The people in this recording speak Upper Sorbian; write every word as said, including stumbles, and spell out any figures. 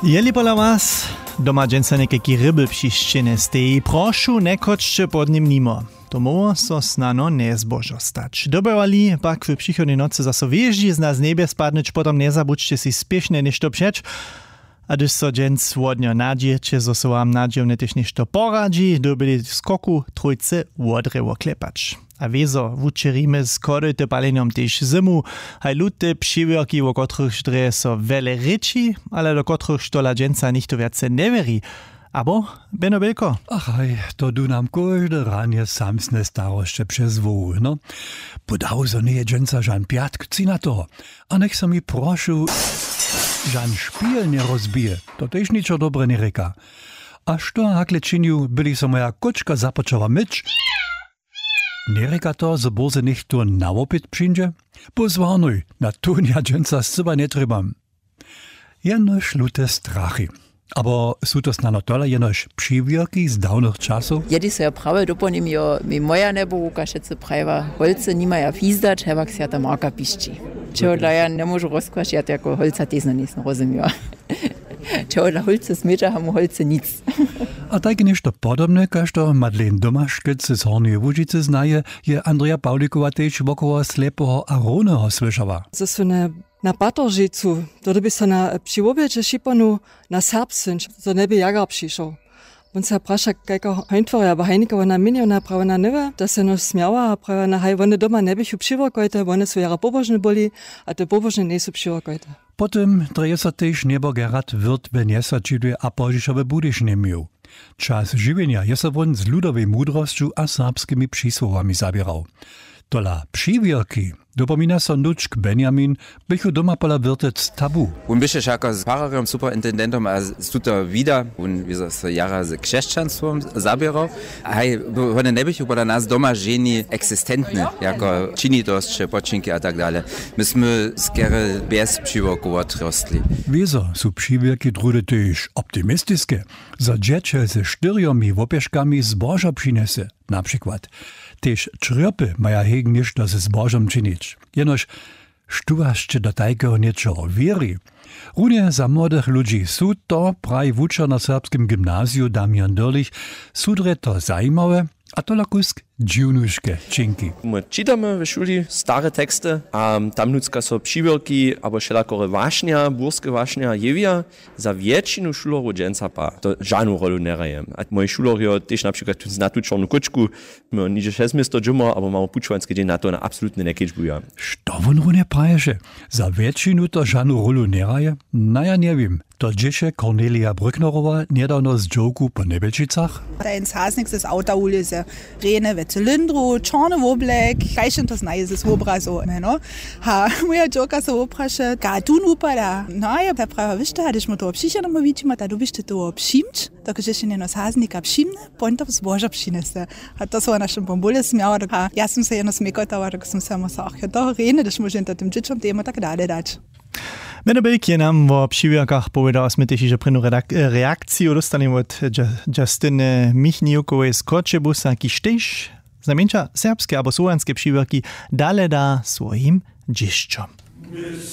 Jeli pola was doma dźensa někajki ryby přišćene steji, prošu, njechodźće pod nim nimo. To móhło so snano njezbožo stać. Dobywali pak w přichodnej nocy zaso wěždźizna z njebje spadnyć, potom njezabudźće sej spěšnje něšto přeć. A hdyž so dźens wodnjo nadźěće, zo so wam nadźijomnje tež něšto poradźi, dyrbili skoku trójce wodrje woklepać. A wězo wučerimy z chodyty palenjom tež zymu. Haj lute přiwěrki, wo kotrychž drje so wjele rěči, ale do kotrychž tola dźensa nichtó wjace njewěri. Abo, Beno Bělko? Ach haj, to du nam kóžde ranje samsne starosće přez hłowu, no. Podał zo njeje dźensa žan pjatk třinatoho? A njech so mi, prošu, žan špil njerozbije, to tež ničo dobre njerěka. A što hakle činił, by-li so moja kóčka započała myć? Njerěka to, zo bórze něchtó na wopyt přińdźe? Pózwornuj, na tónja dźensa scyła njetrjebam. Jenož lute strachy. Abo su to snano tola jenož přiwěrki z dawnych časow? Jedi so jo prawje dopołnim jo mi moja nebohuka wšetcy prajiła, holcy nimaja fizdać, hewak swjata marka pišći. Čehodla ja njemóžu rozkłaš, ja to jako holca tež njejsem rozumiła. Čehodla holcy smědźa, hamu holcy nic. A tajke něšto podobne, kaž to Madeleine Domaškec z Hornjeje Łužicy znaje, je Andreja Pawlikowa tež wokoło Slepeho a Rowneho słyšała. Zo su na, na Patoržejcu, to dyrbi so na, při wobjedźe šiponu na serbsce, zo njeby jagar přišoł. Wón se praša, kajka Heintwori abo Heinike wona měnjowna, prawa na nywe, to se jenož smjała a prawa na haj, wone doma njeběchu přiwěrkojte, wone su jara pobožne byli, a te pobožne njejsu přiwěrkojte. Po tym drje so tež njebo Gerhard Wirth w Njesaćidłej a pozdźišo w Budyšinje měł. Čas žiwjenja je so wón z ludowej mudrosću a serbskimi přisłowami zaběrał. Tola přiwěrki, dopomina so nutřk Benjamin, běchu doma pola Wirtec tabu. Wón běše wšako z fararjom, superintendentom a z tuto wida, wón je so jara z křesćanstwom zaběrał. Haj, wone njeběchu pola nas doma ženi eksistentne, jako činitosće, počinki a tak dale. My smy skerje bjez přiwěrkow wotrostli. Wězo su přiwěrki druhdy tež optimistiske, zo dźěćel ze štyrjomi wopěškami zbožo přinjese, na přikład. Tež črjopy maja hejk něšto ze zbožom činić. Jenož, štó wasće do tajkeho něčeho wěri? Runje za młodych ludźi su to, praji wučer na serbskim gymnaziju Damian Dyrlich, su drje to zajimawe, a tola kusk dźiwnuške činki. My čitamy w šuli stare teksty a tam nutřka so přiwěrki abo wšelakore wašnja, burske wašnja jewja. Za wjetšinu šulerjow dźensa pak to žanu rolu njehraje. A moji šulerjo tež na přikład tu, na tu čornu kóčku, my nihdźe šesć město dźumor abo mamy pućowanski dźeń, na to wona absolutnje njekedźbuja. Što wón runje praješe? Za wjetšinu to žanu rolu njehraje? Na, ja njewěm. To dźěše Cornelia Brücknerowa njedawno z dźowku po Njebjelčicach. Tajn saznik z auta wulěze, rjene we cylindru, čorny woblek, kaž to znaje z wobrazow, mjeno. Ha, moja dźowka so wopraše, ka tón wupada. No a ja ta prawa, wěš to, a hdyž mu toho přišednemu widźimy, ta dyrbiš ty toho přimć, dokelž je něno saznika přimne, pon to zbožo přinjese. A to so wona šim pon bóle smjała, dok-, a ja sym se jeno smjekotała, dok sym se móhła, ach jo, to rjene, hdyž móžem to tym dźěćom temu tak dale dać. Mjeno Bejk je nam wo přiwěrkach powědał, smy tež hižo prěnu redak-, reakciju dóstali wot Ju-, Justiny Michniukowej z Choćebuza, kiž tež znajmjeńša serbske abo słowjanske přiwěrki dale da swojim dźěsćom.